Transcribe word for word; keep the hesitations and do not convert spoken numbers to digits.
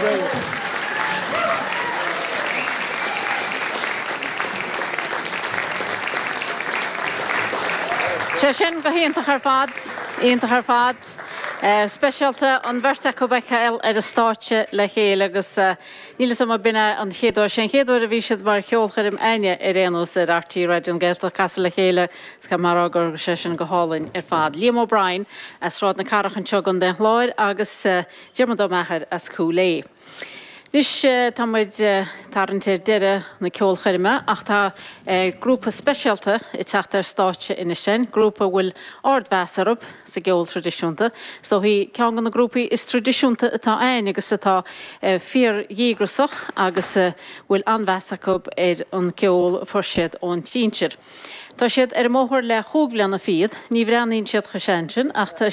Brilliant. Sé sin go hiontach ar fad, iontach ar fad. Uh, speisialta an bheirt acu a fheiceáil ar an stáitse le chéile agus uh, níl am binne an chéad uair sin chéad uair a bhí siad mar cheolchoirm againne ar aon nós ar RTÉ Raidió na Gaeltachta casadh le chéile is mar gur sé sin go hálainn ar fad. Liam O'Brien as Sráid na Cathrach anseo i gContae an Chláir agus uh, Diarmuid Ó Meachair as Cúil Aodha. Anois tá muid tarraingt ar deireadh na ceolchoirme ach tá grúpa speisialta ag teacht ar stáitse anois sin, grúpa bhfuil ardmheas orthu sa gceol traidisiúnta. Is dóichí ceann de na grúpaí is traidisiúnta atá ann agus atá fíordhíograiseach agus bhfuil an-mheas acu ar an ceol a fuair siad ón sinsir. Tá siad ar an mbóthar le cúig bliana fichead, ní bhreathnaíonn siad chomh sean sin ach tá